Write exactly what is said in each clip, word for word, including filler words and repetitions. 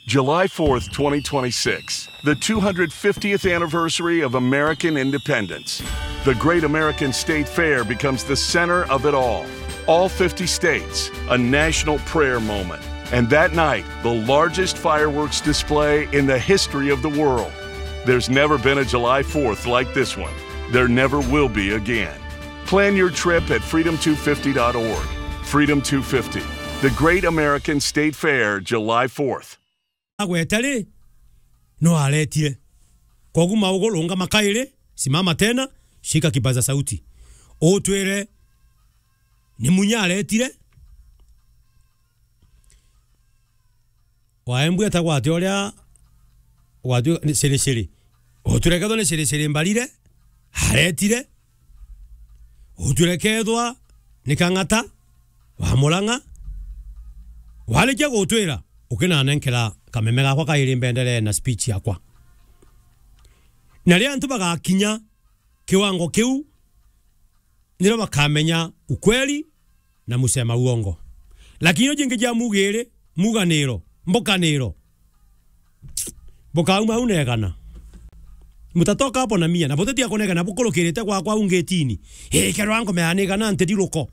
July fourth, twenty twenty-six, the two hundred fiftieth anniversary of American independence. The Great American State Fair becomes the center of it all. All fifty states, a national prayer moment. And that night, the largest fireworks display in the history of the world. There's never been a July fourth like this one. There never will be again. Plan your trip at freedom two fifty dot org. Freedom two fifty, the Great American State Fair, July fourth. Agwete ri, no aretire. Kogu maugo, lungama kairi, simama tena, shika kipaza sauti. Utwire, ni Munya aretire? Waembu etagwa ati uria gwatwi ni Ciri Ciri. Utwire kethwa ni Ciri Ciri Mbarire, aretire. Utwire kethwa ni Kang'ata wa Murang'a. Warikia gutwira, ukinanenkera kameme gakwa kairi mbendere na speech yakwa. Na riria antu bagakinya kiwango kiu, nirio bakamenya ukweli na musema uongo. Lakini ino jingi jia mugiri, muganiro, mbukaniro, bukauma au negana. Mutatoka hapo na mia, na butetiga kunegana bukurukirite gwakwa au ngetini. Ii, kerwa ngome yanigana nti riruko.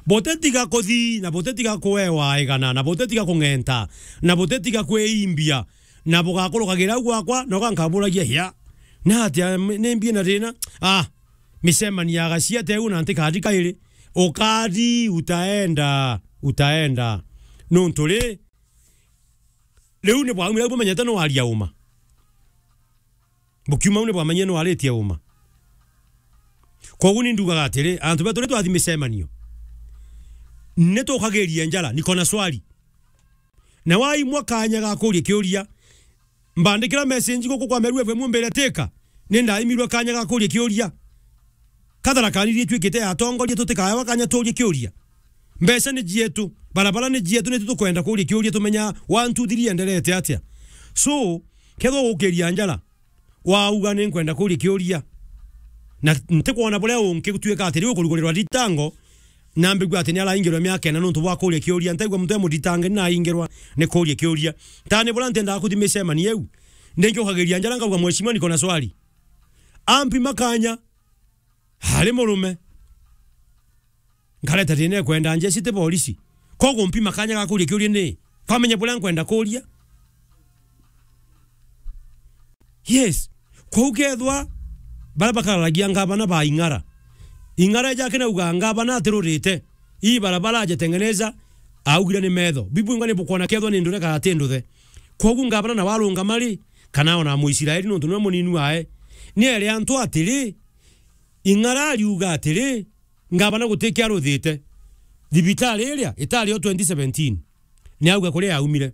Butetiga kuthi, na butetiga kuewa igana, na butetiga kung'enta, na butetiga kwiimbia, na bugakurukagira au gwakwa, na ugankaburagia, ya. Na atia, m-, ni mbie na thina? Ah, micemanio ya gacia teu na nti kadi kairi. Ukadi, utaenda, utaenda. Nuntu ri, riu ni bwaumire au bumenyete no aria uma. Bukiuma au ni bwamenyire no aritie uma. Kogu ni ndugaga atiri, antu betu ri twathi micemanio, ni tukagiria njara, niko na swali. Na waimwa kanya ga kuria kiuria, mbandikira message guku kwa Meru F M umbire tika, ni ndaimirwe kanya ga kuria kiuria. Kathara kaniri itwikite ya atongoria tutikaewa kanya turie kiuria. Mbeca ni cietu, barabara ni cietu, ni tukwenda kuria kiuria tumenya one, two, three enderete atia. So, kethwa gukiria njara, wauga ni nkwenda kuria kiuria. Na ntikwona buria ungi gutuika ati riu kurugurerwa thitango, na mbigua ati ni araingirwa miaka ina nuntu bwa kuria kiuria. Ntaigua muntu e muthitange ni naingirwa ni kuria kiuria. Tani buria ntendaga kuthi micemanio iu, ndingiukagiria njara nkauga, "Mheshimiwa, niko na swali." Ampi makanya, ari murume. Nkareta thina ekwenda njeci ti polisi. Koguo mpima kanya ga kuria kiuria ni, kwamenya buria nkwenda kuria. Yes. Kwou kethwa baria bakararagia ngavana ba Ing'ara, Ing'ara eja akinauga ngavana atirurite, ii barabara ajetengeneza, augire ni metho. Bibwingwa ni bukwona kethwa ni ndure kana ti nduthe. Kwou ngavana nawe arungama ri, kana ona Muisraeli nuntu niwe munini wae, ni ere antu atiri, Ing'ara ariuga atiri, ngavana gutikia aruthite. Thibitari iria itari yo twenty seventeen, ni auga kuria yaumire.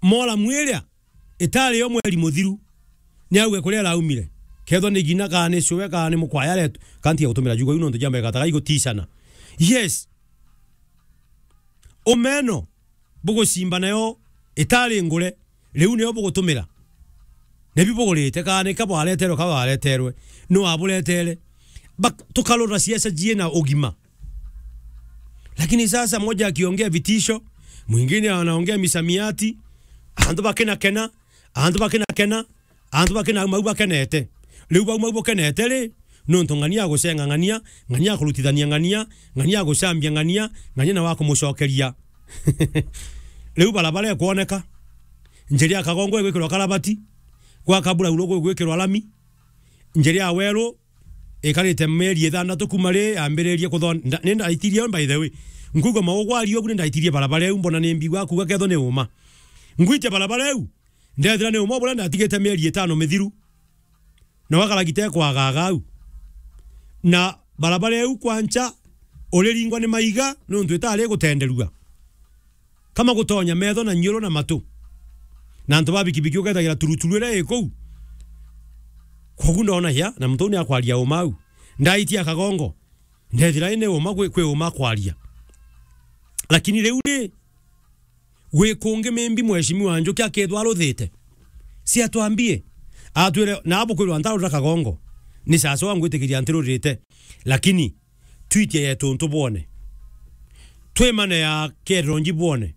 Moramu iria itari yo mweri muthiru, ni auga kuria iraumire. Kethwa ni gina, kana ni cue, kana ni mukwaya aretu, kanti ya gutumira jugo iu nontu jamba igataga iguticana. Yes. Umeno bugucimba nayo itari ngure, riu niyo bugutumira. Nibi bugurite, kana ni ka bwareterwe, ka bwareterwe, nu waburetere? Bak-, tukarora ciaca ciina ugima. Lakini sasa mmoja akiongea vitisho, mwingine anaongea misamiati, antu bakinakena, antu bakinakena, antu bakina mau bakenete. Riu bau mau bukenete ri, nontu ng'ania agucenga ng'ania, ng'ania akurutithania ng'ania, ng'ania agucambia ng'ania, ng'ania nawe akumucokeria. Riu barabara ikwoneka, njira ya Kagongo igwikirwa karabati, gwa Kaburauro gugwikirwa lami, njira ya Weru ikarite mieri ithanthatu kuma ri yambiririe kuthon-, nda-, ni ndaitirie, by the way. Nkuigua maugu aria ugu ni ndaitirie barabara iu, mbona ni mbigua kuuga kethwa ni uma. Ngwitia barabara iu, ndethira ni uma buria ndatigite mieri itano mithiru. Na wakaragita ikwagaga au. Na barabara iu kwancha uriringwa ni maiga, nontu itari igutenderua. Kama gutonya metho na nyiuru na matu. Na antu ba bikibiki ukethagira turuturu iria i kuu. Kwogu ndona ya, na muntu uu ni akwaria uma au. Ndaitia Kagongo. Ndethira ni uma kwi, kwi uma kwaria. Lakini riu ri, gwi kungi mimbi mheshimiwa Njuki akethwa aruthite? Si atwambie. Atwire, na abukwirwa ntarura Kagongo. Ni sasa wangwitikiria ntirurite. Lakini, twitie yetu ntubwone. Twimane ya Keronji bwone.